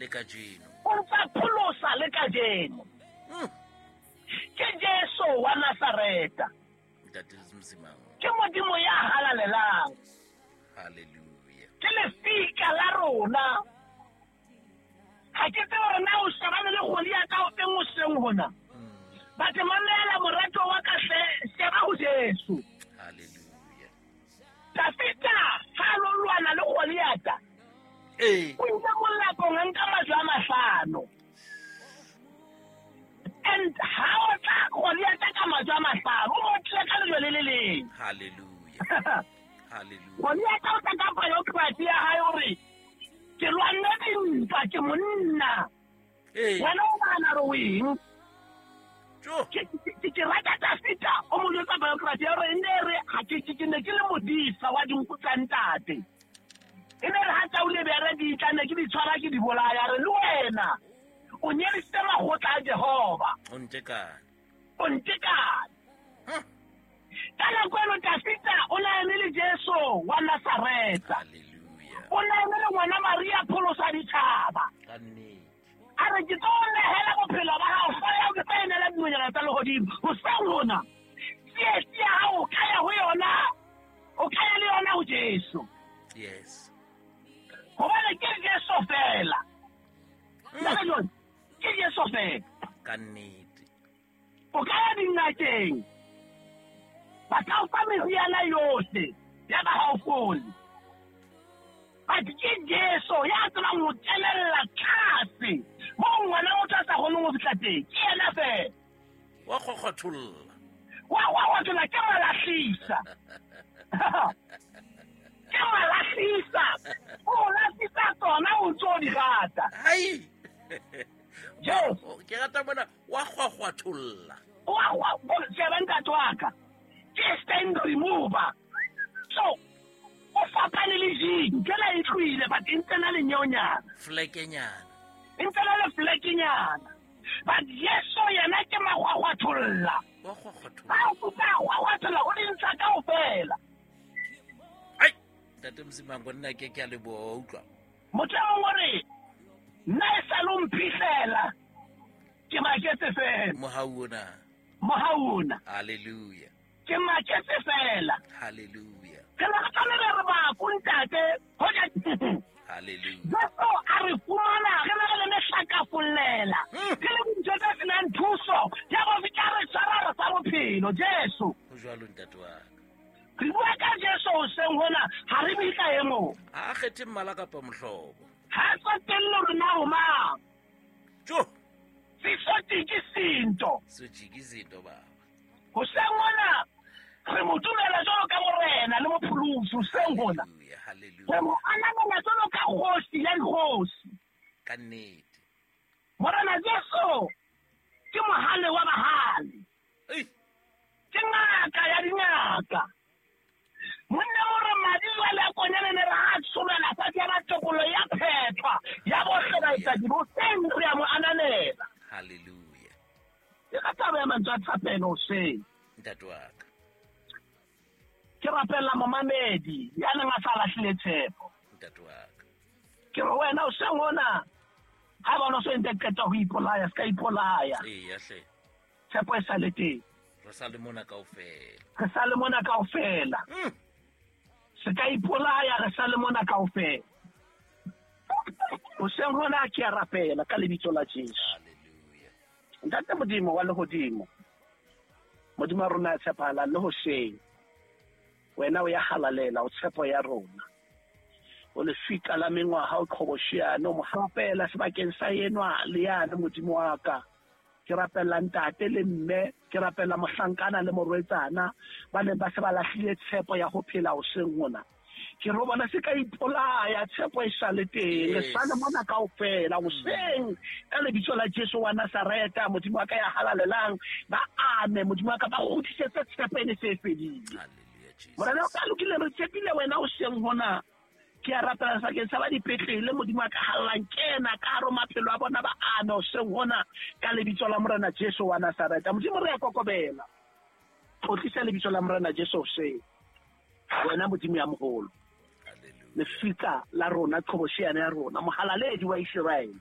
Le kajeno. O ntsa pholosa le kajeno. Ke Jesu wa Nazareta. Ntate Msimang. Ke Modimo ya halalelang. Hallelujah. Ke lefika la rona. Ga ke tsebe gore na o shebane le Goliata o feng o seng hona. But mamela morato wa ka hle, sheba ho Jesu. Hallelujah. Dafita ha a lo lwana le Goliata. Ee. O ile molapong a nka majwe a mahlano. And ha o tla Goliata ka majwe a mahlano, o mo tlile ka lejwe le le leng. Hallelujah. Hallelujah. Goliata o tla ka biography ya hae hore ke lwanne dintwa, ke monna. Ee. Wena o nahana hore o eng? Jo. Ke rata Dafita o mo jwetsa biography ya hore e ne re ha ke ne ke le modisa wa dinku tsa ntate. E ne re ha tau le bere di tla ne ke di tshwara ke di bolaya, re le wena o nyedisitse makgotla a Jehova. O ntekane. O ntekane. Ka nako eno Dafita o na eme le Jesu wa Nazareta. Hallelujah. O na eme le ngwana Maria pholosa ditjhaba. Ka nnete. A re ke tlo nehela bophelo ba hao, hlooho ya hao ke tla e neela dinonyana tsa lehodimo. Hoseng hona, tsietsi ya hao o ka ya ho yona, o ka ya le yona ho Jesu. Yes. Hobane ke Jesu fela. Ntate John, ke Jesu fela. Ka nnete. O ka ya dingakeng, ba ka o fa meriana yohle ya ba ha o fole. But ke Jesu ya tsebang ho kenella tlase moo ngwana motho a sa kgoneng ho fihla teng. Ke yena fela. Wa kgokgotholla. Wa kgokgotholla, ke malahlisa. Ke malahlisa. O lahlisa tsona o ntso di rata. Hai. Jesu. Ke rata mona wa kgwakgwatholla. Wa kgwa, sheba ntate wa ka. Ke stain remover. So, o fapane le jean, ke la e tlohile, but e ntse na le nyeonyana. Flekenyana. E ntse na le flekenyana. But Jesu yena ke makgwakgwatholla. Wa kgwakgwatholla. Ba o kuka kgwakgwatholla, o di ntsha kaofela. Ai, Ntate Msimang, nna ke a leboha, wa utlwa. Motho e mongwe o re, nna e sa le o mphihlela, ke maketse fela. Mohau ona. Mohau ona. Hallelujah. Ke maketse fela. Hallelujah. Re ne re tlamehile re baku, ntate, hoja Hallelujah. Jesu a re fumana re ne re le mehlakafollela. Re le dintho tse senang thuso, ya bo fihla re tshwara re fa bophelo, Jesu. Ho jwalo, ntate wa ka. Re bua ka Jesu hoseng hona, ha re bue ka e mong. Ha a kgethe mmala kapa mohlobo. Ha a tsotelle hore na o mang. Jo. Sesotiki sinto. Sotiki sinto, baba. Hoseng hona, re mo dumela jwalo ka morena le mopholosi hoseng hona. Hallelujah, hallelujah. Re mo ananela jwalo ka kgosi ya dikgosi. Ka nnete. Morena Jesu ke mohale wa bahale. Ei. Ke ngaka ya dingaka. Monna o re madi jwale a konyana ne re a tsholwela fatshe ya ba tokolo ya phethwa ya bohle baetsadi hoseng re a mo ananela. Hallelujah. Ke ka taba ya mantswe a thapelo hoseng. Ntate wa ka. Ke rapella momamedi ya neng a sa lahlile tshepo. Ntate wa ka. Ke re wena hoseng hona, ha eba o no so entse qeto ho ipolaya, se ka ipolaya. Eya hle. Tshepo e sa le teng. Re sa le mona kaofela. Re sa le mona kaofela. Se ka ipolaya, re sa le mona kaofela. Hoseng hona ke a rapela ka lebitso la Jesu. Hallelujah. Ntate Modimo wa lehodimo, Modimo wa rona ya tshepahalang le hoseng, wena o ya halalela, o tshepo ya rona. O lefika la mengwaha, o qhobosheane, o mo rapela sebakeng sa enwa le yane, Modimo wa ka. Ke rapella ntate le mme, ke rapella mohlankana le morwetsana, ba neng ba se ba lahlile tshepo ya ho phela hoseng hona. Ke re ho bona se ka ipolaya, tshepo e sa le teng, re sa le mona kaofela hoseng ka lebitso la Jesu wa Nazareta, Modimo wa ka ya halalelang, ba ame, Modimo wa ka ba kgutlisetse tshepo e ne se e fedile. Hallelujah, Jesus. Morena o ka lokile, re tshepile wena hoseng hona. Ke a rapela sebakeng sa ba dipetlele, Modimo wa ka hallang, kena ka hare ho maphelo a bona, ba ame hoseng hona ka lebitso la Morena Jesu wa Nazareta. Modimo re a kokobela, tlotlisa lebitso la Morena Jesu hoseng. Wena Modimo ya moholo, Hallelujah. lefika la rona, qhobosheane ya rona, mohalaledi wa Iseraele.